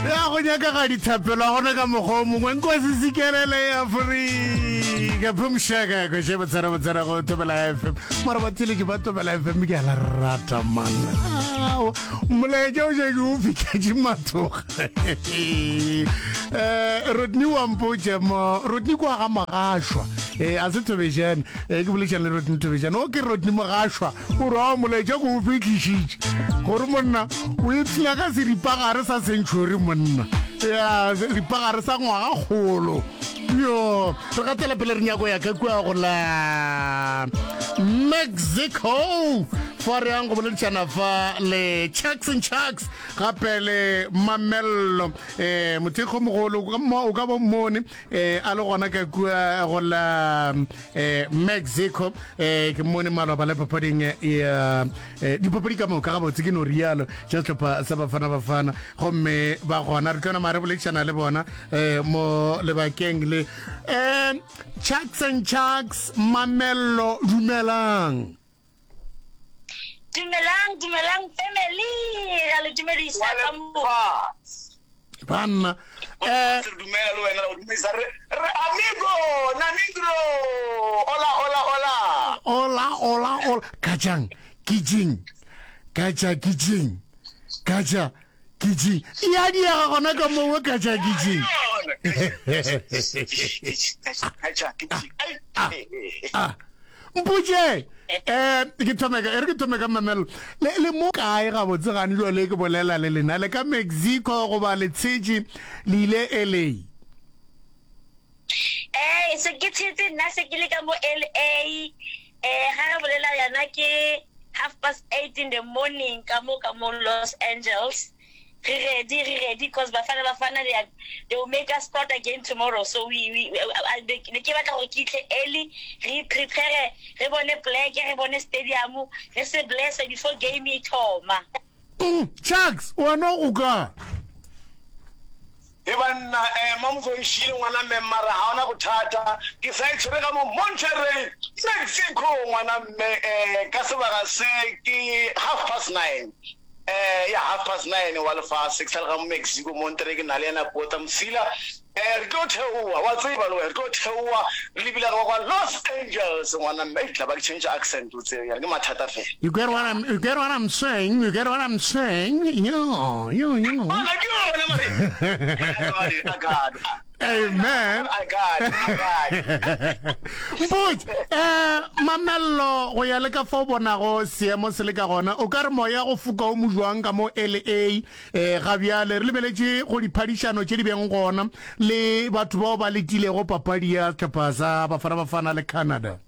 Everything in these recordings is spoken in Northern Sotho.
Ya go nyaka ga dithapelo a gona ka mokgwa o mongwe nkosi sikelele ya Afrika phumshaka ko she botsara botsara go Thobela FM mara batheletši ba Thobela FM ke a la rata man molaetša o šetše o fihletše mathoga eh Rodney wa mpotše mo Rodney kwa ga Mogashwa eh a se Thobejane eh ke bolešana le Rodney Thobejane o ke Rodney Mogashwa O re, A molaetša ke o fihlišitše gore monna o ipshina ka seripagare sa century monna. Ya, seripagare sa ngwagakgolo. Yo, re gatela pele re nyako ya ka kua go la Mexico. Fa re yang go boledišana fa le Chucks and Chucks gape le Mamello. Eh, mothekgo mogolo o ka bo mmone eh a le gona ka kua go la eh Mexico eh ke mmone maloba le papading ya eh, dipapadi ka moka gabotse ke no rialo tša sehlopha sa Bafana Bafana gomme ba gona re tlo nama re boledišana le bona eh mo lebakeng le eh Chucks and Chucks Mamello dumelang. Dumelang, dumelang family. Ra le dumedisa ka mo. Banna. Eh dumela le wena o dumedisa re re amigo namigro. Hola hola hola. Hola hola hola. Kajang kijing. Kaja kijing. Kaja kijing. Ya diega gona ka mongwe kaja kijing. Kaja kijing. Ah. Ah. Mpotše, eh, ke thome ka, e re ke thome ka mamelo. Le, le mo kae gabotse gane jwale ke bolela le lena? Le ka Mexico goba le tshetše le ile LA? Eh, se ke tshetse nna se ke le ka mo LA. Eh, ga re bolela yana ke half past 8 in the morning ka mo ka mo Los Angeles. Re ready, re ready cause Bafana Bafana they are, they will make us proud again tomorrow. So we we ne ke batla gore ke itlhe early, re prepare, re bone pleke, re bone stadium, re se bless before game e thoma. Mm, Chucks, wena o kae? He banna, eh, Mamzo e šile ngwana mme mara ga ona bothata. Ke sa e tshwere ka mo Monterrey, Mexico ngwana mme, eh, ka sebaka se ke half past nine. Eh, ya half past nine wa lefase, ke sa le ga mo Mexico, Monterrey, ke na le yena Pota Mosila. Eh, re tlo theoa, wa tseba le wena, re tlo theoa re lebile ga kwa Los Angeles ngwana mme. Ei, tla ba ke change accent o tsebe, ke mathata fela. You get what I'm, you get what I'm saying? You get what I'm saying? Yeah, yeah, yeah. Ana ke yona mare. I got it, I got it. Amen. I got it, I got it. Mpotše, eh, Mamello, go ya le ka fa o bonago seemo se le ka gona, o ka re moya go foka o mo jwang ka mo LA eh, ga bjale re lebeletše go diphadišano tše di beng gona le batho bao ba letilego papadi ya sehlopha sa Bafana Bafana le Canada?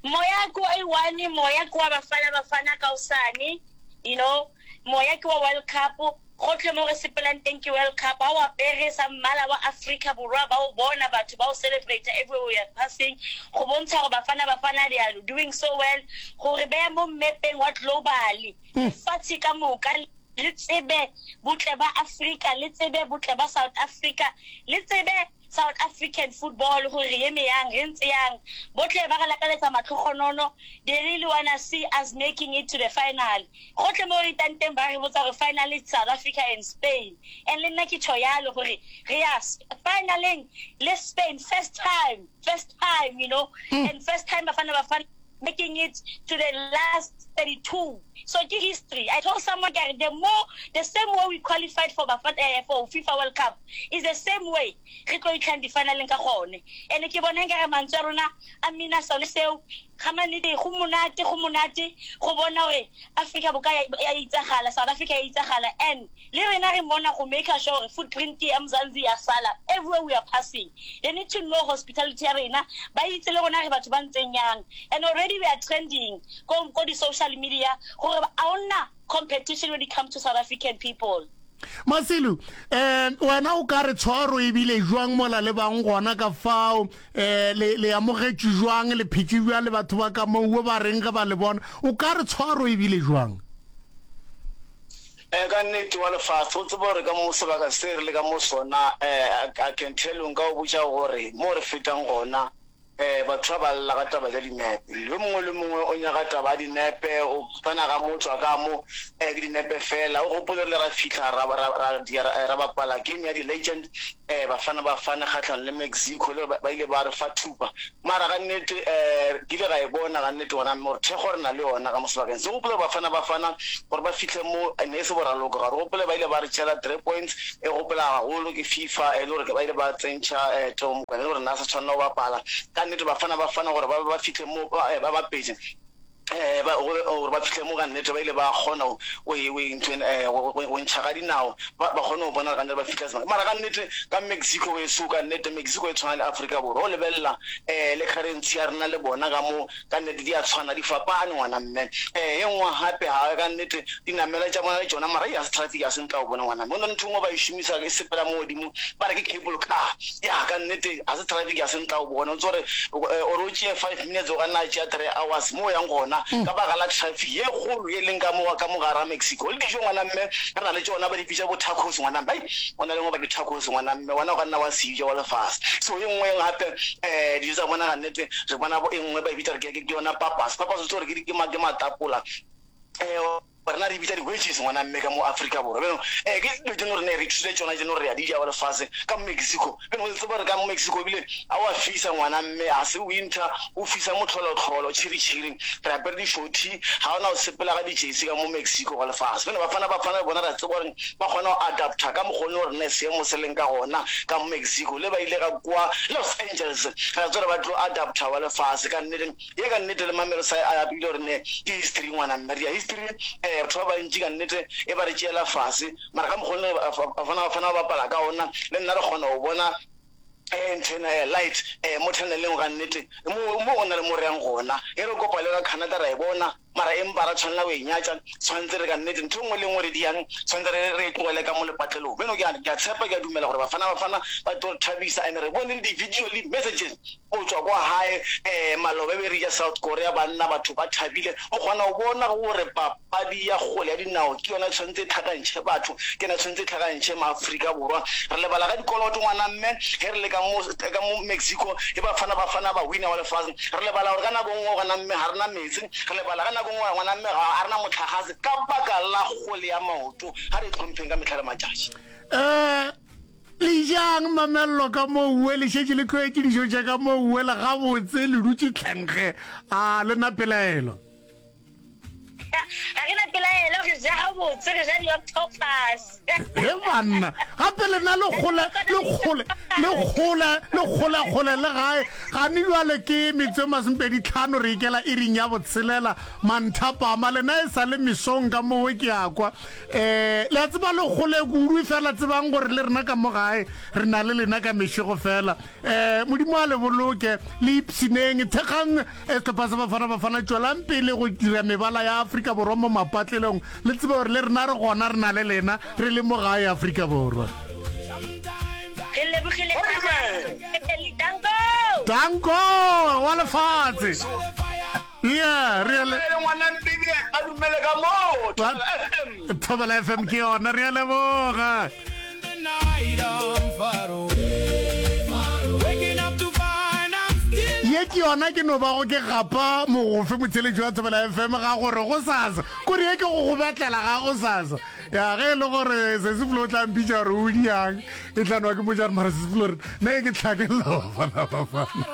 Moya ke wa one, moya ke wa Bafana Bafana kaosane, you know, moya ke wa World Cup. Gohle mo re sepelang teng ke World Cup, ha o apere sa mmala wa Afrika Borwa ba o bona batho ba o celebrate everywhere we are passing, go bontsha gore Bafana Bafana they are doing so well, go re beya mo mmepeng wa global, lefatshe ka moka le tsebe botle ba Afrika, le tsebe botle ba South Africa, le tsebe South African football gore re eme yang, re ntse yang. Bohle ba re lakaletsa matlhogonono, they really wanna see us making it to the final. Gohle mo re itang teng ba re botsa gore final it's South Africa and Spain. And le nna ke tjho yalo gore re ya finaleng le Spain first time, first time you know, and first time Bafana Bafana making it to the last 32. So ke history. I told someone ke re the more the same way we qualified for Bafana eh, for FIFA World Cup is the same way re tlo itlhang di-finaleng ka gone. And ke bona nkare mantswe a rona a mina sone seo ga mannete go monate go monate go bona gore Africa boka ya itsagala South Africa ya itsagala and Le rena re mona go maker sure gore footprint ya Mzansi ya sala everywhere we are passing. They need to know hospitality ya rena, ba itse le rona re batho ba ntseng yang. And already we are trending ko ko di social media gore a hona competition when it comes to South African people. Masilu, eh, wena o ka re tshwaro e bile jwang mola le bang gona ka fao, eh, le, le amogetšwe jwang, le phetše bjang le batho ba ka moo, ba reng ge ba le bona, o ka re tshwaro e bile jwang? Eh, ka nnete wa lefase, o tseba gore ka mo sebaka se re le ka mo sona, eh, I can tell you, nka o botša gore mo re fetang gona, Um batho ba ba lla ka taba tša dinepe. Yo mongwe le mongwe o nyaka taba ya dinepe, o tsena ga mo, o tšwa ka mo, um ke dinepe fela. O gopole re ile ra fihla ra, ra, ra, dia, ra bapala game ya di-legend, um Bafana Bafana kgahlanong le Mexico, le gore ba ile ba re fa thupa. Mara ka nnete, um ke ile ka e bona ka nnete gona mme gore thekgo re na le yona ka mo sebakeng se. Gopole gore Bafana Bafana gore ba fihle mo, ne e se boraloko. Ga re gopole ba ile ba re tšeela 3 points, E gopola gagolo ke FIFA e le gore ba ile ba tsentšha Theo Mokwena e le gore na sa tshwanela go bapala. Ka nnete Bafana Bafana gore ba ba fihle mo ba bapetše ba gore ba fihle mo ka nnete ba ile ba kgona go go ntšha ka dinao ba kgone go bona ka nnete ba fihla sebaka. Mara ka nnete ka Mexico weso ka nnete Mexico e tshwana le Afrika Borwa o lebelela le currency ya rena le bona ka mo Ka nnete di a tshwana, di fapane ngwana mme. Ee, ye nngwe gape ga ka nnete dinamela tša bona le tšona mara ya se traffic ya se ntla o bone ngwana mme. Go na le ntho e nngwe ba e šomisa e sepela mo godimo ba re ke cable car. Ya ka nnete ga se traffic ya se ntla o bone. O tse gore ore o tšee 5 minutes o ka nna tšea 3 hours mo o yang gona ka baka la traffic ye kgolo ye leng ka mo ka mo gara Mexico. Le dijo ngwana mme re na le tšona ba di bitša bo tacos ngwana mme. Ai go na le nngwe ba ke tacos ngwana mme wena o ka nna wa se ja wa lefase. So ye nngwe gape dijo tsa bona ka nnete Re bona bo e nngwe ba e bitsa gore ke yona papas. Papas o tsebe gore ke ke matapola. Rena re bitsa di-wedges ngwana mme ka mo Afrika Borwa. Bjalo ke dilo tse gore ne re ithutile tšona tse gore re a di ja wa lefase ka mo Mexico. Bjalo o tsebe gore ka mo Mexico ebile a wa fisa ngwana mme ga se winter o fisa motlholotlholo tšhiri-tšhiri. Re apere di-shorty ga ona o sepela ka di-jersey ka mo Mexico wa lefase. Bjalo bafana bafana le bona re a tseba gore ba kgona go adapter ka mokgwa o ne seemo se leng ka gona ka mo Mexico le ba ile ga kwa Los Angeles re a tseba ba tlo adapter wa lefase ka nnete ye ka nnete le mamelo sa a apile gore ne ke history ngwana mme re ya history eh batho ba bantši ka nnete e ba re tšeela fase mara ka mokgwa ne bafana bafana ba bapala ka ona le nna re kgona go bona eh ntho ena eh light eh mo tunneleng ga nnete mo mo go na le mo re yang gona e re kopa le ka Canada ra e bona Mara empa ra tshwanela go e nyatša, tshwanetse re ka nnete ntho e nngwe le nngwe re diyang, tshwanetse re re e tlogele ka mo lepatlelong. Bjalo ke a ke a tshepa, ke a dumela gore Bafana Bafana ba tlo re thabisa and re bone le di-video le di-messages go tšwa kwa gae um maloba e be re ja South Korea banna batho ba thabile. O kgona go bona gore papadi ya kgole ya dinao ke yona e tshwanetse e tlhakantšhe batho, ke yona e tshwanetse e tlhakantšhe maAfrika Borwa. Re lebala ka dikoloto ngwana mme ge re le ka mo ka mo Mexico e Bafana Bafana ba winner wa lefase. Re lebala gore ka nako nngwe gona mme ga re na meetse, re lebala ka nako nngwe ngwana mme ga a re na mohlagase ka baka la kgole ya maoto. Ga re itlhompheng ka mehla le matšatši. Eh, le jang mamello ka mo uwe le šetše le tlwaetše dijo tša ka mo uwe le gabotse le dutše tlhenkge a le na pelaelo. Ga re na pelaelo, re ja gabotse, re ja di-octopus. He banna, gape lena le kgole, le kgole, le kgole, le kgole kgole le gae. Gane jwale ke metsotso e masomepedi tlhano re ikela iring ya botshelela manthapama. Lena e sa le mesong ka mowe ke a kwa. Eh, le a tseba le kgole kudu fela tsebang gore le rena ka mo gae re na le lena ka mešego fela. Eh, Modimo a le boloke, le ipshineng, thekgang Sehlopha sa Bafana Bafana tšwelang pele go dira mebala ya Afrika Borwa mo mapatlelong. Le tsebe gore le rena re gona, re na le lena, re le mo gae Afrika Borwa. Re lebogile Danko! Danko wa lefatshe. Yeah, re a le Ngwana Mpini a dumele ka moo. Thobela FM. Thobela FM ke yona, re a leboga. Ye ke yona ke no bago ke gapa mogofe motheletši wa Thobela FM ga gore go sasa kore ye ke go go betlela ga go sasa ya ge e le gore Sesiflo o tla mpitša gore o diang e tla nwa ke motša gore mara Sesiflo re nna ye ke tlhakelela bafana bafana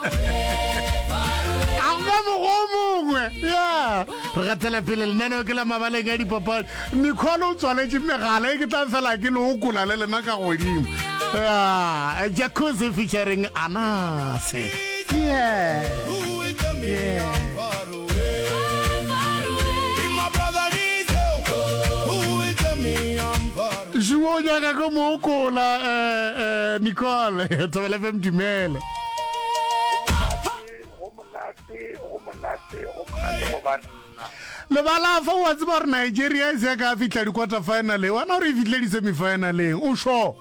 a go mokgwa o mongwe ya re gatela pele lenaneo ke la mabaleng a dipapadi Nicole o tswaletše megala e ke tla fela ke le okola le lena ka godimo. Yeah, Jacuzzi featuring Anase. Yeah. Yeah. Juo nyaka ko mo okola eh, eh, Nicole Thobela FM dumela. Go monate, go monate, go monate go banna. Lebala fa o a tseba gore Nigeria e se ya ka fihla di-quarter finaleng, wana gore e fihlile di-semi-finaleng, o sure?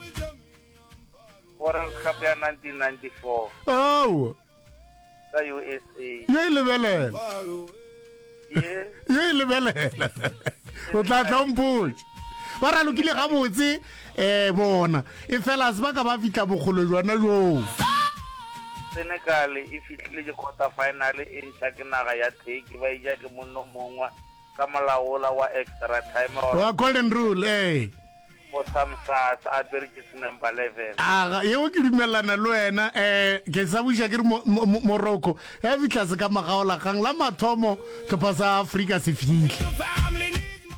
World Cup ya 1994. Ao. Ka USA. Ye e lebelela. Ye. Ye e lebelela. O tla tla o mpotše. Ba ralokile gabotse eh bona. E fela se ba ka ba fihla bokgole jona joo. Senegal e fihlile di-quarter final e ntšha ke naga ya Turkey ba eja ke monno mongwe ka molao wola wa extra time or Wa golden rule, ee. Bo Samsas a apere jersey number 11. Aga, yeo ke dumelelana le wena. Eh, ke sa buša ke re mo, mo, mo, Morocco ya fihla se ka magaolakgang la mathomo hlopha sa Afrika se fihle.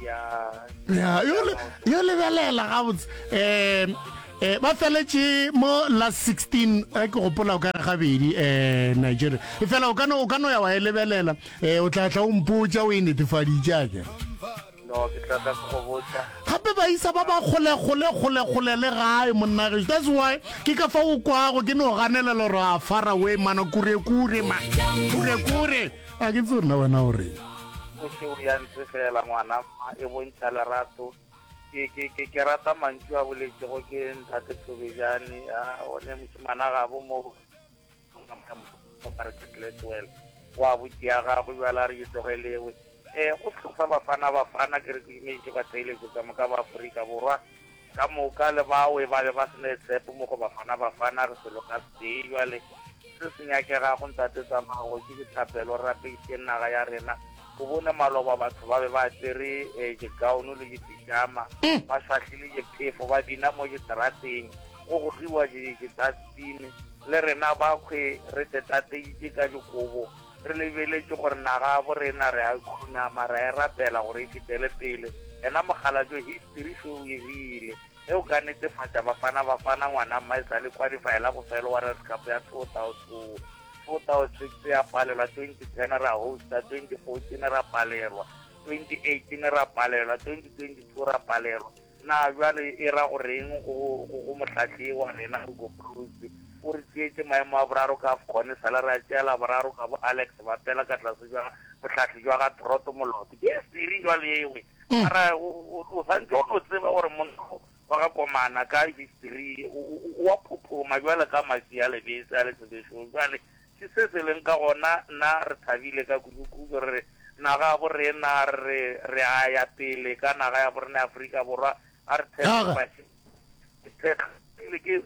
Ya. Ya, yo le, yo lebelela gabotse. Eh, eh, ba feletše mo last 16 eh, ke gopola o ka re gabedi eh, Nigeria. E fela o ka no, o ka no ya wa e lebelela. Eh, o tla tla o mpotša o e netefaditše akere. No, ke tla tla ke go botša. Gape baisa ba ba kgole kgole kgole kgole le gae monna gešo. That's why ke ka fa o kwago ke no ganelela gore a far away mana kure kure ma kure kure. A ke tsebe nna wena o reng. O se o ya ntse fela ngwana mma e bontšha lerato. Ke ke ke ke rata mantšu a boletšego ke ntate Thobejane a one mošemana gabo mo wa botši ya gagwe bjale a re ke tlogelewe um go sehlopha sa Bafana Bafana ke re ke dumeditše batheeletši ka moka ba Afrika Borwa ka moka le bawe ba be ba se ne tshepo mo go Bafana Bafana re selo ka setee jwale se se nyakegago ntate Tsamago ke dithapelo re rapedišeng naga ya rena o bone maloba batho ba be ba apere um digaono le dipijama ba šwahlile diphefo ba bina mo diterateng go gogiwa di-dustbin Le rena bakhwe re tetateitše ka dikobo, re lebeletše gore naga ya bo rena re a khunama, ra e rapela gore e fetele pele. Yena mokgalabje history še o e rile. Ge o ka netefatša Bafana Bafana ngwana mma e sa le qualify la bofelo World Cup ya 2002, 2006 ya palelwa, 2010 ra hosta, 2014 ra palelwa, 2018 ra palelwa, 2022 ra palelwa. Na bjale e ra go reng go, go, go mohlahli wa rena, Hugo Broos? O re tšeetše maemo a boraro ka AFCON, e sale re a tšeela boraro ka bo Alex Bapela ka tlase bja bohlahli jwa ga Trot Moloto. Ke history jwale ewe. Mara o, o, o santše o no tseba gore monna wa ga Komana ka history o, o, o a phophoma bjale ka maswi a lebese a letsebešong. Bjale ke se se leng ka gona, nna re thabile ka kudu-kudu re re Naga ya bo rena re re a ya pele ka naga ya bo rena ya Afrika Borwa a re thekge baše thekgile ke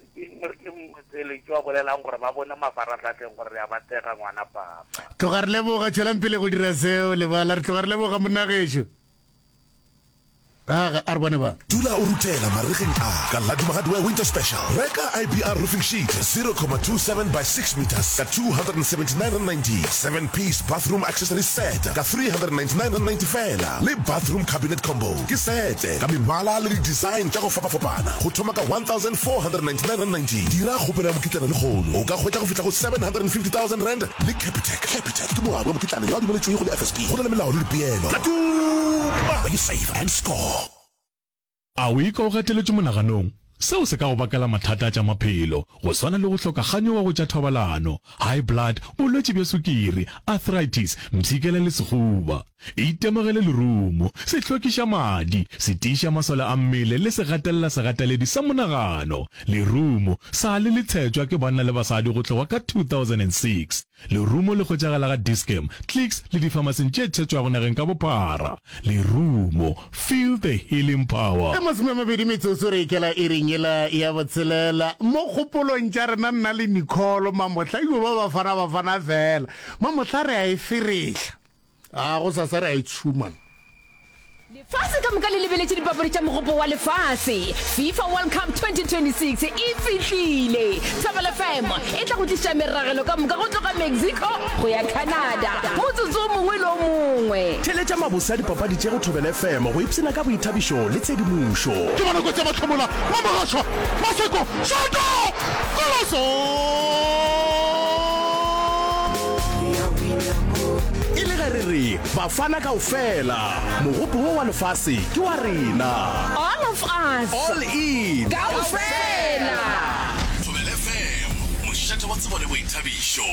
ke motheeletši wa bolelang gore ba bone mafarahlahleng gore re a ba thekga ngwana papa. Tloga re leboga, tšwelang pele go dira seo lebala. Re tloga re leboga monna gešo. Aga, a re bone ba. Dula o ruthela maregeng a ka la Duma Hardware Winter Special. Reka IBR roofing sheet 0,27 by 6 metres ka R279.90, 7-piece bathroom accessories set ka R399.90 feela, le bathroom cabinet combo ke sete ka mebala le di-design tša go fapafapana go thoma ka R1,499.90. Dira kgopelo ya mokitlana lehono o ka hwetša go fihla go R750,000 le Capitec. Capitec ke moabi wa mokitlana yo a dumeletšwego le FSP. Go na le melao le dipeelo. La Duma, where you save and score. A o ikwa o gateletšwe monaganong? Seo se ka go bakela mathata a tša maphelo, go swana le go hloka kganyogo go tša thobalano, high blood, bolwetši bja sukiri, arthritis, mpshikela le sehuba. Itemogele lerumo, se hlwekiša madi, se tiiša masole a mmele le se gatelela segateledi sa monagano. Lerumo sa le le tshetšwa ke banna le basadi go tloga ka 2006. Lerumo le hwetšagala ga Dis-Chem, Clicks le difamasing tše tshetšwago nageng ka bophara. Lerumo, feel the healing power. Ka 20 metsotso re ikela iring yela ya botshelela. Mo kgopolong tša rena nna le Nicole mamohla e yo ba Bafana Bafana fela. Mamohla re a e ferehla. A gosasa re a e tšhuma. Lefase ka moka le lebeletše dipapadi tša Mogopo wa Lefase. FIFA World Cup 2026 e fihlile! Thobela FM e tla go tliša meragelo ka moka go tloga Mexico go ya Canada motsotso o mongwe le o mongwe. Theeletša mabose a dipapadi tše go Thobela FM go ipshina ka boithabišo le tshedimošo. Ke bona kotsi ya mahlomola, Mamogašwa, Maseko, Šoto, Koloso! E le ge re re Bafana kaofela, mogopo wo wa lefase ke wa rena. All of us. All in. Kaofela. Thobela FM, mošate wa tsebo le boithabišo.